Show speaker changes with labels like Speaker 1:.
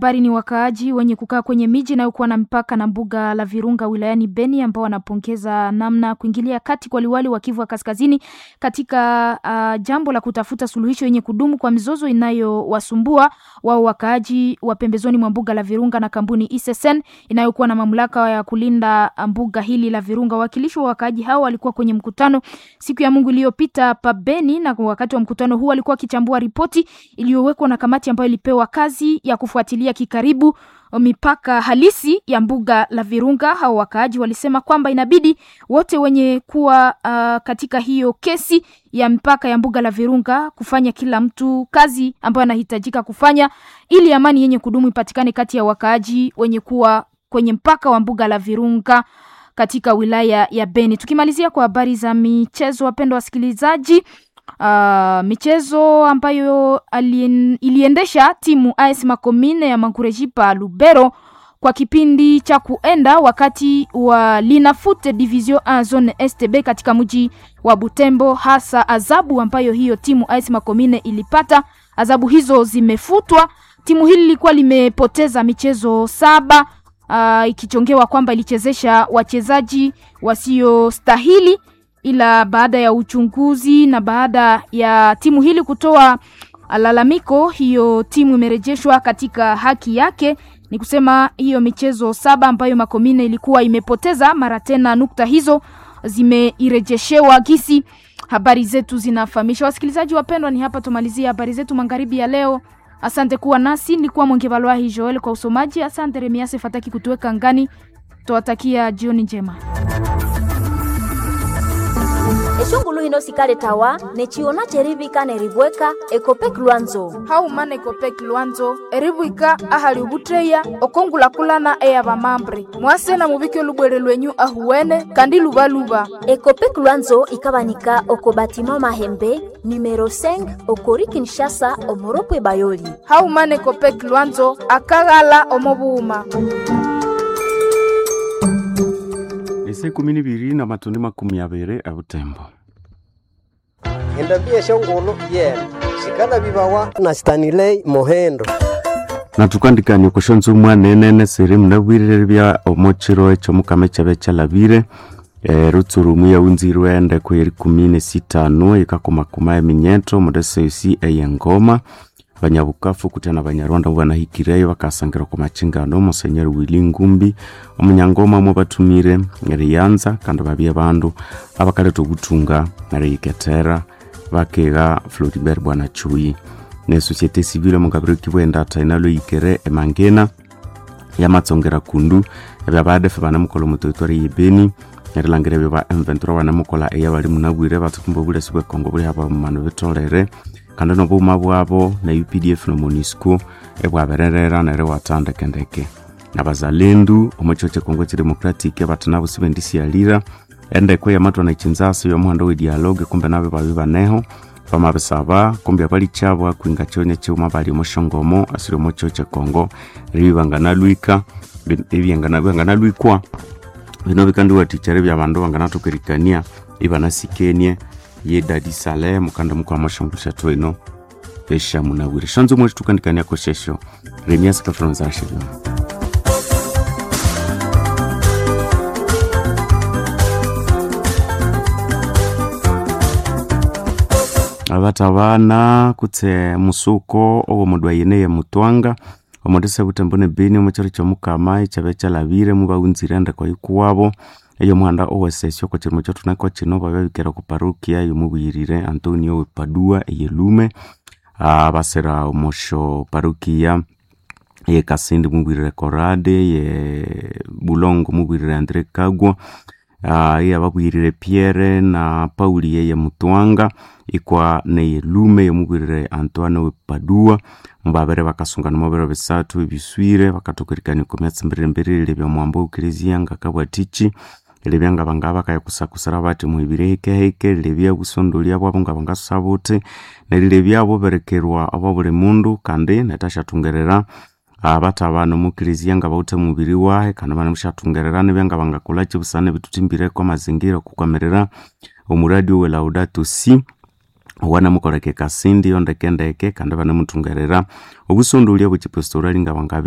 Speaker 1: habari ni wakaaji wenye kukaa kwenye miji inayokuwa na mpaka na mbuga la Virunga wilayani Beni ambao wanapongeza namna kuingilia kati kwa liwali wa Kivu ya Kaskazini katika jambo la kutafuta suluhisho yenye kudumu kwa mizozo inayowasumbua wao wakaaji wa pembezoni mwa mbuga la Virunga na kampuni ISSN inayokuwa na mamlaka ya kulinda mbuga hili la Virunga. Wawakilishi wa wakaaji hao walikuwa kwenye mkutano siku ya Mungu iliyopita pa Beni, na wakati wa mkutano huu walikuwa wakichambua ripoti iliyowekwa na kamati ambayo ilipewa kazi ya kufuatilia kikaribu mipaka halisi ya mbuga la Virunga. Hao wakaaji walisema kwamba inabidi wote wenye kuwa katika hiyo kesi ya mpaka ya mbuga la Virunga kufanya kila mtu kazi ambayo anahitajika kufanya ili amani yenye kudumu ipatikane kati ya wakaaji wenye kuwa kwenye mpaka wa mbuga la Virunga katika wilaya ya Beni. Tukimalizia kwa habari za michezo, wapendwa wasikilizaji, michezo ambayo iliendesha timu AS Makomine ya Mangurejipa Lubero kwa kipindi cha kuenda wakati wa Linafoot Division 1 Zone STB katika mji wa Butembo, hasa adhabu ambayo hiyo timu AS Makomine ilipata, adhabu hizo zimefutwa. Timu hili lilikuwa limepoteza michezo 7, ikichongewa kwamba ilichezesha wachezaji wasiostahili, ila baada ya uchunguzi na baada ya timu hili kutoa lalamiko, hiyo timu imerejeshwa katika haki yake. Ni kusema hiyo michezo 7 ambayo Makomine ilikuwa imepoteza mara tena, nukta hizo zimeirejeshewa gisi habari zetu zinafahamisha. Wasikilizaji wapendwa, ni hapa tumalizie habari zetu magharibi ya leo. Asante kuwa nasi, nilikuwa Mwenge Joel kwa usomaji. Asante Remiase Fataki kutuweka ngani. Tuwatakia jioni njema.
Speaker 2: Eshungulu hino sikale tawa nechiona cherivika neribweka ekopek lwanzo
Speaker 3: haumana ekopek lwanzo eribwika ahali ubutreya okongulakulana eya vamambre mwase na muvike lubwere lwenyu ahuwene kandi luvaluva.
Speaker 2: Ekopek lwanzo ikabanika oko batima mahembe numero 5 okori Kinshasa omoropwe bayoli.
Speaker 3: Haumana ekopek lwanzo akaghala omobuuma.
Speaker 4: Ese 12 na matundi 20 ebutembo.
Speaker 5: Endabia shongolo yena sikala bibawa na Stanley Mohendo.
Speaker 4: Na tukandikania kushonza omwana siri munabwirire bya omochiro ekyo mukama ekyabe kyalabire rutsurumu yaunzirwe endeko yeri 16 ikakomakoma eminyeto mudesesi eyengoma banyabukafu kutya na banyarwanda banahikireyo bakasangira ku machingano Monsenyeri Willy Ngumbi omunyangoma mwe batumire eriyanza kandi babye bandu abakaleta obutunga neriyikethera bakega Floribert Bwana Chui ne société civile mukabiri kibwenda inalo yikere emangena yamatsongera kundu ebya badefe banamukola omuteritwari yebeni erilangira ebyo ba M23 banamukola eya bali munabwire batsukumba obulesi bwekongo buli haba mumano bitolere kandi nobuuma bwabo na UPDF no MONUSCO ebwabererera neryo watandekendeke nabazalendu omucho Kongo Democratic batanabo sibendisialira endeko yamatwa na chinzasi yomuhando we dialogue kumbe nabe babi baneho bamabisaba kumbe abalikyabwa kwinga kyonya kyuma bali omushongomo asiri omucho Kongo ribibanganalwika ebyanganalwikwa bino bikandiwathikya bya bandu banganathukerikania ibanasikenie ye Dadi Saleh mukanda mukwa mashongo eno esha munabwire shanzo mwe tukandikania koshesho Remias Kafonza Shivyo. Abatabana kutse musuko owo mudwa yene ye mutwanga omudisa butembo ne beni omukyaro kyomukama ekyabe kyalabire mubaghunzire endeko yikuwabo eyo muhanda owesesyo oko kirimo kyothunako kino bababikera ku parukia yomubuyirire Antonio we Padua eyelume basira omosho parukia ye Kasindi mubwirire Korade ye Bulongo mubwirire Andre Kagwa iye ababwirire Pierre na Pauli yeye Mutwanga ikwa neyelume yomubwirire Antoine we Padua mubabere bakasungana mubiro bisathu ebiswire bakathokerikania oko myatsi mbiriri bya mwambo eklezia ngakabwatiki lebya nga banga bakayakusakusira bathi muhibire hikehike lebya busondolia bwabo nga bangasusa buthi nerilebya buberekerwa obwa buli mundu kandi netashathungerera abathabana omuklezia nga bawuthe mubiri wahe kandi banemushathungerera nibya nga bangakolaki busana ebithuthimbireko amazingira okukwamirira omuradi owe Laudato Si owanamukoleka ekasindi yondekendeke kandi banemuthungerera obusondolia bwekipastorali nga bangabya.